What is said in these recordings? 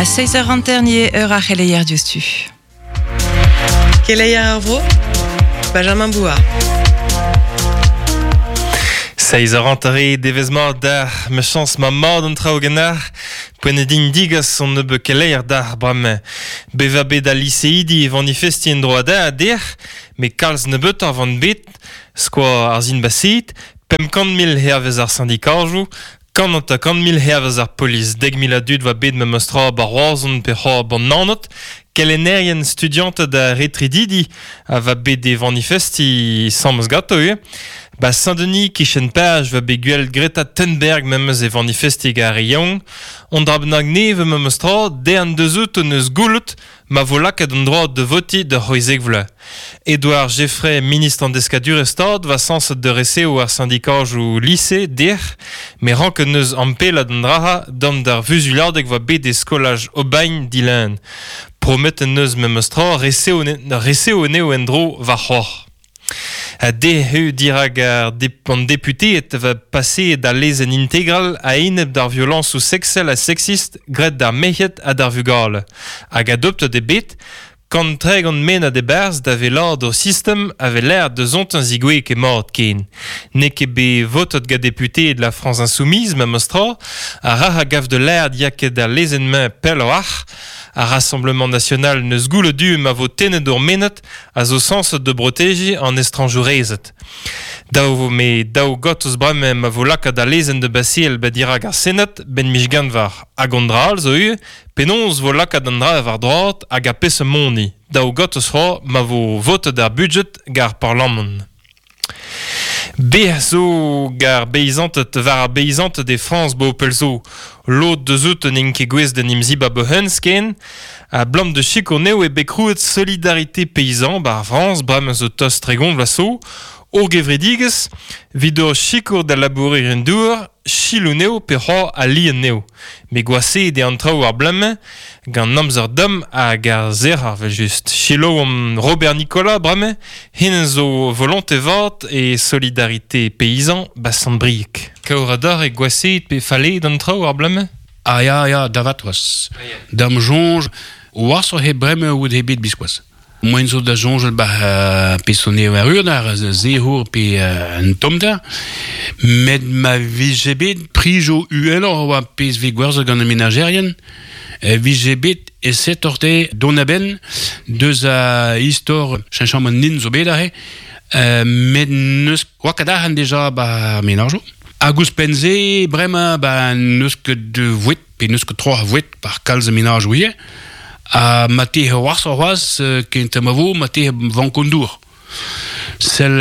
A 6 eur hanter-ni eo eur ar c'heleier diouzhtu. Keleier ar vro, Benjamin Bouard. Seiz eur hanter eo devezh mat deoc'h, ma chañs ma mat an traoù ganeoc'h. Poent eo din digas an nebeud keleier deoc'h bremañ. Bevañ bet al liseidi e vanifestiñ en-dro a dec'h, met kalz nebeutoc'h van bet, skoaz ar sin-baseet, 500 000 hervez ar sindikajoù, 150 000 hervez ar polis, 10 000 a dud 'oa bet memes tra 'ba Roazhon pe c'hoazh 'ba Naoned, kelennerien studianted ha retredidi a oa bet é vanifestiñ 'sames ganto ivez. 'Ba Saint-Denis 'kichen Paj 'oa bet gwelet Greta Thunberg memes é vanifestiñ gant ar re yaouank. Un dra bennak nevez memes tra, dezhañ deus outo 'neus goulout ma vo lakaet an droad da votiñ da c'hwezek vloaz. Edouard Geffray, ministr an deskadurezh-stad, 'oa sañset da resev ar sindikajoù lise dec'h, met ranket 'neus ampellat an dra-se dam d'ar vuzuliadeg 'oa bet e skolaj Aubagne dilun. Prometet 'neus memes tra resev anezho en-dro warc'hoazh. Dezhe dirak an deputeed va paseet al lezenn integral a-enep d'ar violañsoù seksel ha seksist graet d'ar merc'hed ha d'ar vugale hag adoptet eo bet 130 mennad e-barzh da wellaat o sistem a vez lâret deusontañ zigouezh ket mat ken. N'eo ket bet votet gant deputeed La France Insoumise memes tra, ha rac'h a gav da lâret ya ket al lezenn-mañ pelloc'h. Ar Rassemblement National n'eus goulet du ma vo tennet ur mennad a zo sañset da brotejiñ an estrañjourezed. Dav vo me daou gortoz bremañ ma vo lakaat al lezenn da baseal ba dirak ar Senad 'benn miz Genver. Hag an dra all zo ivez, penaos 'vo lakaat an dra war droad hag ar peseurt moni. Daou gortoz c'hoazh ma vo votet ar budjed gant ar Parlamant. Bec'h zo gant ar beizanted war ar beizanted e Frañs 'bo pell zo. Lod deus n'int ket gouest d'en em zibab o-hent ken. A-blam da sikour anezho eo bet krouet Solidarité Paysan 'ba ar Frañs bremañ zo tost 30 vloaz zo. Ur gevredigezh 'vit ur sikour da labourerien-douar, selaou anezho pe c'hoazh aliañ anezho. Met gwashaet eo an traoù ar bloaz-mañ gant amzer domm hag ar sec'hor evel-just. Selaouomp Robert Nicolas bremañ, hennezh zo volonte vat e Solidarité Paysan 'ba Sant-Brieg. Kaour-adar eo gwashaet pe falleet an traoù ar bloaz-mañ? Ah ya, ya, da vat c'hoazh. Da'm soñj, washoc'h eo bremañ out eo bet biskoazh. Moaien zo da soñjal 'ba peseurt eo erru ar sec'hour pe an tommder, met ma vije bet prijoù uheloc'h oa pezh 'vez gwerzhet gant ar menajerien, e vije bet aesetoc'h dezhe dont a-benn deus a istor cheñchamant nin zo bet aze, met n'eus oa ket arc'hant deja 'ba ar menajoù. Hag ouzhpenn-se bremañ ba n'eus ket voued pe n'eus ket tro a voued par kalz a menajoù ivez. Ha ma te c'hoazh c'hoazh kent ma vo ma te vank an dour. Sell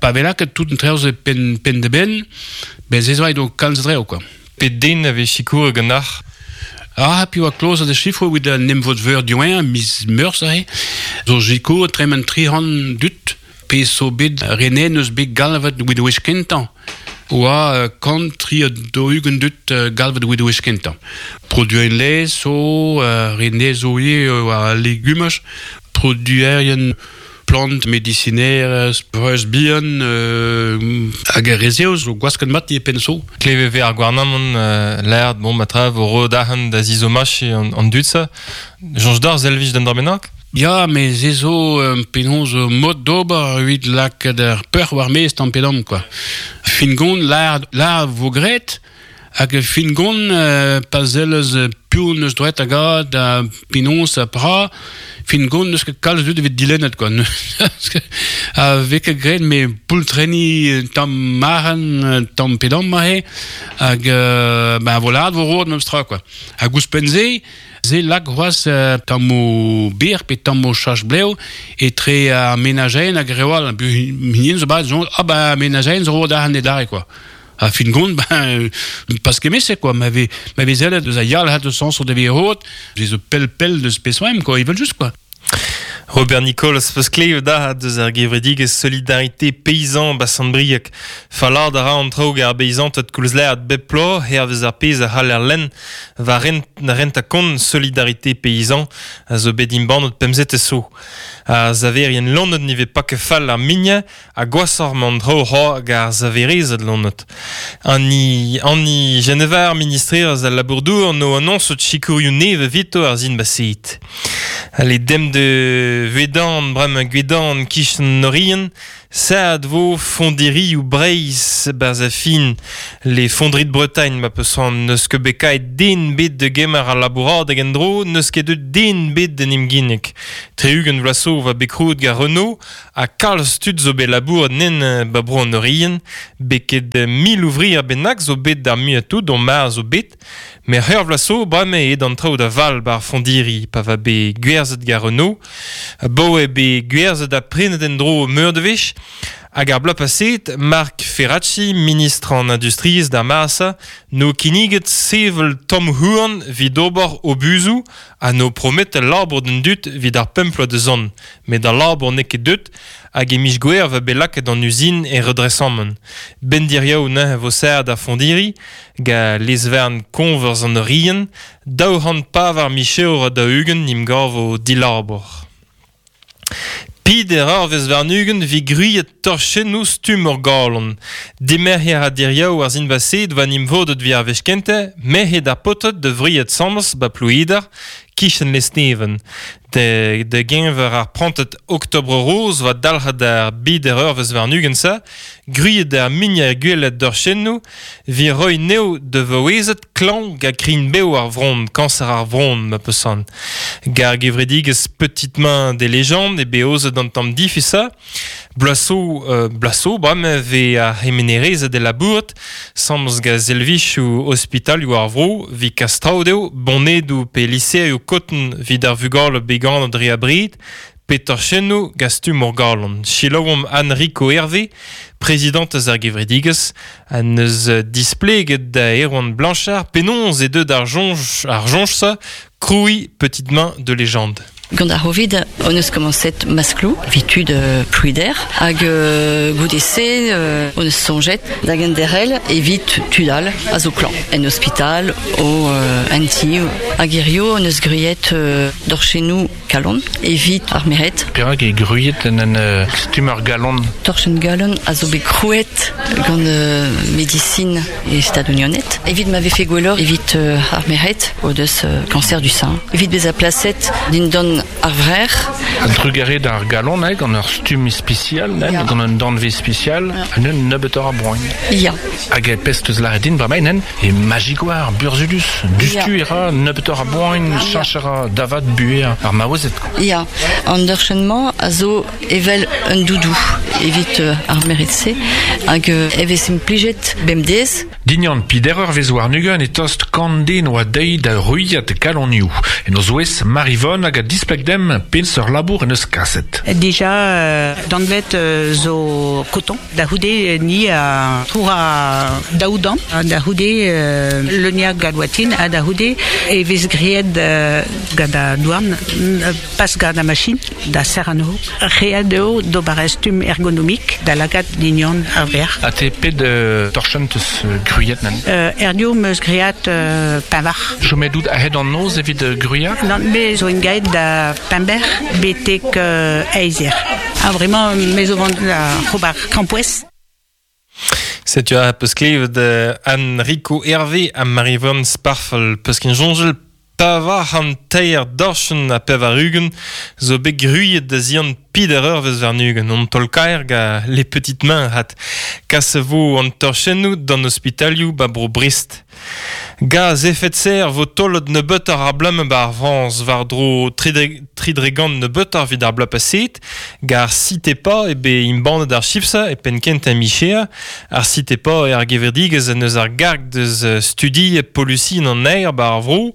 pa vez lakaet tout an traoù-se penn penn da benn, ben se zo aet kalz a draoù quoi. Pet den a vez sikouret ganeoc'h? Ah, piv a klozet e sifroù evit an emvod-veur diwezhañ, miz Meurzh aze, zo sikour tremen 300 dud Pezh zo bet renet n'eus bet galvet evit wech kentañ oa 143 dud galvet evit wech kentañ. Produerien laezh zo, renet zo ivez war al legumaj, produerien plant medisinerezh, breuz bihan hag ar re-se zo gwasket mat ivez penn zo. Klevet 'vez ar gouarnamant lâret bon ma tra vo roet arc'hant da zizomachiñ an dud-se. Soñj deoc'h servij d'un dra bennak? Ya, met se zo penaos mod d'ober evit lakaat ar peoc'h war-maez tamm-pe-damm quoi. Fin-gont lâr lâr vo graet hag fin-gont pa sellez piv 'neus droed da gad ha penaos ha pra, fin-gont n'eus ket kalz a dud evit dilennet quoi. Ha 'vez ket graet met poultrenniñ tamm arc'hant tamm-pe-damm aze hag ben vo lâret vo roet memes tra quoi. Hag ouzhpenn-se Se lak c'hoazh tammoù bir pe tammoù chach-blev etre ar menajerien hag reoù all. Hinienn zo bat soñj, ah ben menajerien zo roet arc'hant adarre quoi. Ha fin gont, ben pas kement-se quoi. Ma vez ma vez sellet deus a yalc'had eus sañs o devez roet, se zo pell-pell deus peseurt quoi, evel-just quoi. Robert Nicolas peus klevet da deus ar gevredigezh Solidarité Paysan ba Sant-Brieg. Fallad a ra an traoù ar beizanted koulz lâret bep bloaz hervez ar pezh a c'haller lenn war rent, rentañ kont Solidarité Paysan a zo bet embannet pemzetez zo. Ar saverien loened ne vez pas ket fall ar mignañ ha gwashoc'h emañ an traoù c'hoazh hag ar saverezed loened. Annie, Annie Genevard, ministrerez al labour-douar, no annoñset sikourioù nevez evito ar sin baseet. Ale dem de Vedan, bremañ Gwedan, kichen Norien, Sad vo fondirioù Breizh barzh a fin les fonderies de Bretagne ma peus c'hoant n'eus ket bet kaet den bet da gemer al labouradeg en-dro, n'eus ket deuet den bet d'en em ginnig. 60 vloaz zo va bet krouet gant Renault ha kalz tud zo bet labouret nen ba bro an Oriant, bet ket 1000 ouvrier bennak zo bet d'ar muiañ-tout dont mar zo bet, met c'hwec'h vloaz zo bremañ eo an traoù da val bar fondiri pa va bet gwerzhet gant Renault. Bo eo bet gwerzhet ha prenet en-dro meur de wech, hag ar bloaz paseet, Marc Ferracci, ministr an industriezh d'ar mare-se, no kinniget sevel tomm houarn evit ober obuzoù ha no promet al labour d'an dud evit ar pemp vloaz da zont. Met al labour n'eo ket deut hag e miz Gouere va bet lakaet an uzin e redresamant. Ben diriaou neuze vo serret ar fondiri, gant lez-varn koñvers an Oriant, 204 micherour ha 40 'n em gavo dilabour. Peder eurvezh warn-ugent 'vit gwriet torchennoù stumm ur galon. Dimerc'her ha diriaou ar sin-baseet 'oa 'n em vodet 'vit ar wech kentañ, merc'hed ar paotred da wriat 'sambles 'ba Plouider, kichen Lesneven. Da geñver ar prantad Octobre Rose 'oa dalc'het ar beder eurvezh warn-ugent-se, gwriet ar muiañ gwellañ dorchennoù 'vit roiñ anezho da vaouezed klañv gant krign-bev ar vronn, kañser ar vronn ma peus c'hoant. Gant ar gevredigezh Petite Main des Légendes eo bet aozet an tamm difusañ. Bloaz zo, bloaz zo bremañ e vez ar c'hemenerezed e labourat, 'sambles gant servijoù ospitalioù ar vro, 'vit kas traoù dezho, bonedoù pe liserioù koton 'vit ar vugale bet ganet dre abred, pe torchennoù gant stumm ur galon. Selaouomp Anne-Rico Hervé, prezidantez ar gevredigezh, ha neus displeget da Erwan Blanchard penaos eo deuet ar soñj ar soñj-se krouiñ Petite Main de Légende. Gant ar C'hovid hon eus komañset maskloù evit tud Plouider hag goude-se hon eus soñjet da genderc'hel evit tud all a zo klañv en ospital o en ti hag hirio hon eus gwriet dorchennoù kalon evit ar merc'hed. Perak eo gwriet en un stumm ur galon? Torchenn galon a zo bet krouet gant medisin e Stadoù-Unanet evit ma vefe gwelloc'h evit ar merc'hed o deus cancer du sein. Evit bezañ plaset dindan ar vrec'h. A-drugarez d'ar galon, gant ur stumm ispisial, gant un danvez spesial, un nebeutoc'h a boan. Ya. Hag e pezh teus lâret din bremañ nen e magigoar burzhudus. Dustu e ra nebeutoc'h a boan, cheñch a ra da vat buhez ar maouezed. Ya, an dorchenn-mañ a zo evel un doudou evit ar merc'hed-se hag e vez implijet bemdez. Dignan peder eurvezh warn-ugent e tost kant den oa dezhi da ruilhat kalonioù. En o zouez Marivonne hag a displeg demp peseurt labour en deus kaset. Dija danvet zo coton. Da c'houde ni a troura daou damm. Da c'houde leuniañ gant ha da c'houde e vez graet gant an douarn, pas gant ar machine, da serr anezho. Ret eo d'ober ur stumm ergonomik da lakaat dignon ar vrec'h. Ha te pet torchenn teus gwriet nan? Erdio 'm eus graet pevar. Chomet out a-hed an noz evit gwriañ? Nann, me zo engaiet da Pember betek eizh eur. Ha vraiment, me zo vont da ober krampouezh. Setu a peus klevet Anne-Rico Hervé ha Marie-Yvonne Sparfel peus ket soñjal 403 dorchenn ha 80 zo bet gwriet da zian peder eurvezh warn-ugent. An taol-kaer gant les petites mains hat. Kas vo an torchennoù d'an ospitalioù ba bro Brest. Gaz efed serre vo taolet nebeutoc'h ar bloaz 'ba ar Frañs war-dro tri dre gant nebeutoc'h evit ar bloaz paseet. Gant ar CITEPA eo bet embannet ar chifr-se e penn kentañ micher. Ar CITEPA eo ar gevredigezh en deus ar garg deus studiet polusiñ an aer 'ba ar vro.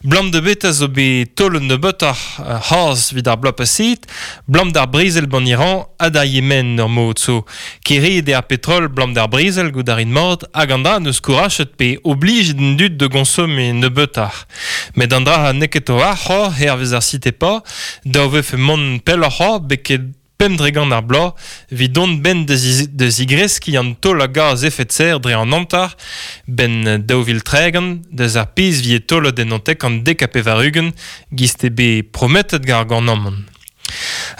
Blam da beta zo bet taolet nebeutoc'h c'haz evit ar bloaz paseet, blam d'ar brezel 'ban Iran ha d'ar Yemen ur mod zo. Kêriet eo ar petrol blam d'ar brezel goût a rin mat hag an dra n'eus kourachet pe oblijet an dud dud de gonsomme nebeutoc'h. Met an dra neket o ar hervez ar site pa, da vefe mont pelloc'h beket pemp dregant ar bloaz, evit dont ben da zigreskiñ an taol a gaz efed serr dre an hanter, ben 2030 deus ar pezh vie taolet en antek an 90 giz eo bet prometet gant ar gouarnamant.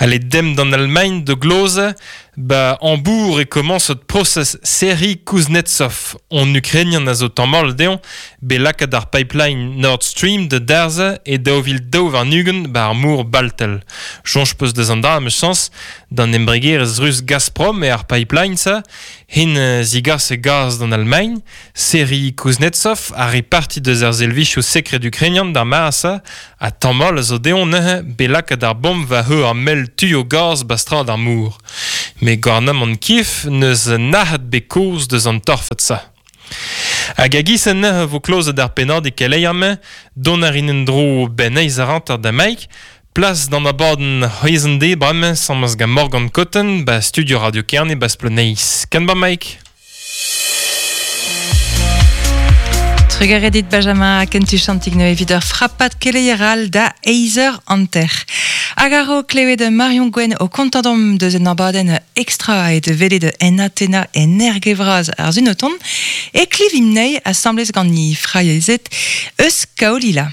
Ale dem d'an Allemagne de gloze, ba Hambourg e komañsot prosez Serhiy Kuznetsov, on Ukrainian a zo tammall dezhañ, bet lakaet ar pipeline Nord Stream da darzhañ e 2022 ba ar mor Baltel. Soñj 'peus deus an dra 'meus d'an embregerezh rus Gazprom eo ar pipeline-se, hen zigas e gaz d'an Almagn, Serhiy Kuznetsov a re parti deus ar servijoù sekred ukrainian d'ar mare-se, ha tammall a zo dezhañ neuze bet lakaet ar bomb war heu ar mell tuioù gaz ba strad ar mor. Met gouarnamant Kiev n'eus nac'het bet kaoz deus an torfed-se. Hag a-giz-se neuze vo klozet ar pennadig keleier-mañ, dont a rin en-dro 'benn eizh eur hanter da Mike, plas d'an abadenn c'hwezh-an-deiz bremañ 'sammez gant Morgan Cotten 'ba studio Radio Kerne 'ba Spleneiz. Ken ba Mike. Trugarez dit Benjamin kentu-chantig neuze evit ur frapad keleier all da eizh eur hanter. Hag a-raok klevet Marion Gwenn o kontañ deomp deus un abadenn extra aet welet en Atena en Erge-Vras ar sun o tont, e klevimp anezhi asambles gant he fraezed eus Kaolila.